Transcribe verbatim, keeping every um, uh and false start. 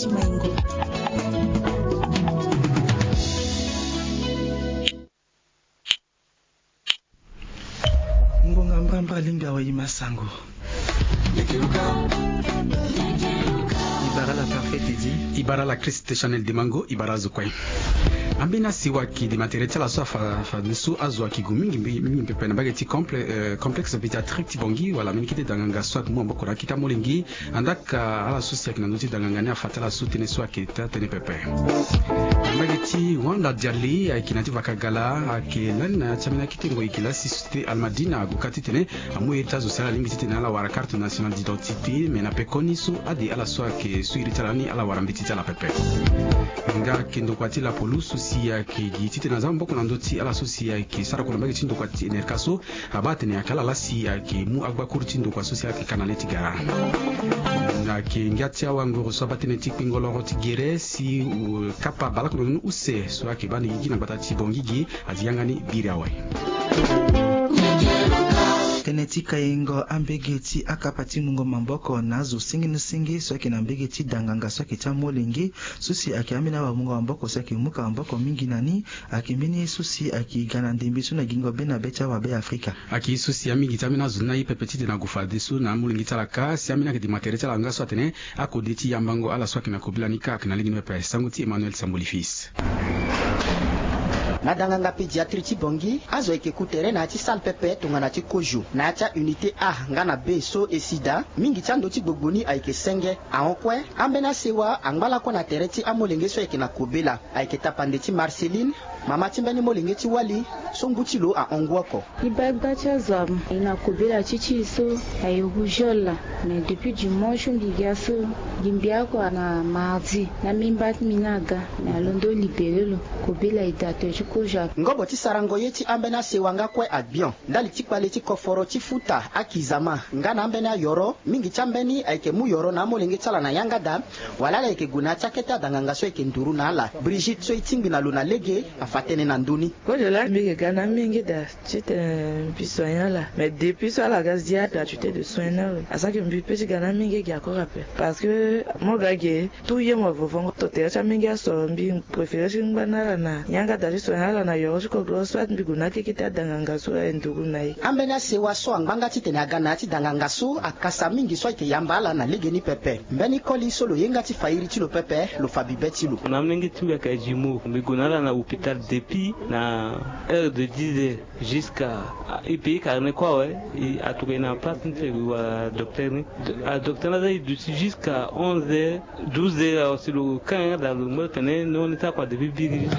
Ngonga mbamba linga wa yi masango. Ibara la parfait Teddy. Ibara la Christ Chanel Demango, ibara zo kue. Ambeni asewa ayeke dema tere ti ala so afa, afa nde so azo ayeke gue mingi, mingi pepe na mbage ti comple-, euh, complexe pédiatrique ti Bangui, wala mbeni kete danganga so ayeke mu maboko na akete amolenge. Andaa ka ala so si ayeke na ndö ti danganga ni afa ti ala so tënë so ayeke taa tënë pepe. Na mbage ti Wanda Diali ayeke na ya ti Vakagala, ayeke lani na ya ti ambeni akete ngoi gi laa si société Almadina ague kâ titene amu ye ti azo si ala lingbi titene ala wara carte nationale d'identité, me na pekoni so ade ala so ayeke so iri ti ala ni ala wara mbeti ti ala pepe. Nga ayeke ndokua ti lapolo so si ayeke gi titene aza maboko na ndö ti ala so si ayeke sara kua na mbage ti ndokua ti Enerka so, abaa atene ayeke ala laa si ayeke mu agbakuru ti ndokua so si ayeke ka na le ti gara. Ayeke ngia ti awanguru so abaa tënë ti kpingo loro ti gere si, uh, kapa baleoko na ndoni use so ayeke baa ni gigi na gbata ti Bangui gi azi yanga ni biri awe. Tënë ti kaingo ambege ti akapa ti mungo maboko na azo singini singi so ayeke na mbege ti danganga so ayeke ti amolenge so si ayeke ambeni awamungo maboko so ayeke mu ka maboko mingi na ni. Ayeke mbeni ye so si ayeke ga na ndembe so na gingo be na be ti awa Beafrika. Ayeke ye so si amingi ti ambeni azo ni aye pepe titene ague fadeso na amolenge ti ala kâ si ambeni ayeke dema tere ti ala nga so atene akode ti yambango ala so ayeke na kobela ni kâ ayeke na lege ni pepe. Sango ti Emmanuel Samboli Fils. Na danganga pédiatrie ti Bangui, azo ayeke ku tere na ya ti salle pepe tongana ti kozo na ya ti a-unité A nga na B so e si daa. Mingi ti ando ti gbogbo ni ayeke senge. Ahon kue, ambeni asewa angba lakue na tere ti amolenge so ayeke na kobela. Ayeke tapande ti Marceline, mama ti mbeni molenge ti wali so ngu ti lo ahon ngu oko. Li baa gba ti azo amu. E na kobela ti ti e so aye rougeole laa. Mais depuis dimanche so mbi gi ga so, gi mbi oko na mardi na mimba ti mbi ni aga. Mais alondo libéré lo. Kobela e daa tere ti kozo. Ngobo ti sarango ye ti ambeni asewa nga kue agbion. Ndali ti kpale ti koforo ti futa akizama nga na ambeni ayoro, mingi ti ambeni ayeke mu yoro na amolenge ti ala na yanga daa. Wala ala yeke gue na ya ti akete adanganga so ayeke nduru na ala. Brigitte so e tingbi na lo na lege afa tënë na ndö ni. Kozo laa mbi yeke ga na amenge daa titene mbi soigner ala. Mais depuis so ala ga zia gratuité de soins ni awe, asara ke mbi peut ti ga na amenge ge encore ape. Parce que mo ga ge, tout ye mo vovongo to tere ti amenge aso, mbi préféré ti ngba na ala na yanga daa ti soigner ala na yoro ti kogoro soit mbi gue na akeke ti adanganga so aye nduru na ye. Ambeni asewa so angba nga titene aga na ya ti danganga so akasa mingi so ayeke yamba ala na legeni pepe. Mbeni koli so lo ye nga ti fa iri ti lo pepe, lo fa bibe ti lo. Na amolenge ti mbi ayeke jumeau, mbi gue na ala na hôpital depuis na heure de dix heures jusqu'à, e payer carnet kue awe. E, atokua e na place ti e wara docteur ni. A, docteur ni aza e duti jusqu'à onze heures, douze heures awe si lo ka nga daa lo ngba tene no ni sara kua depuis biri jusqu'à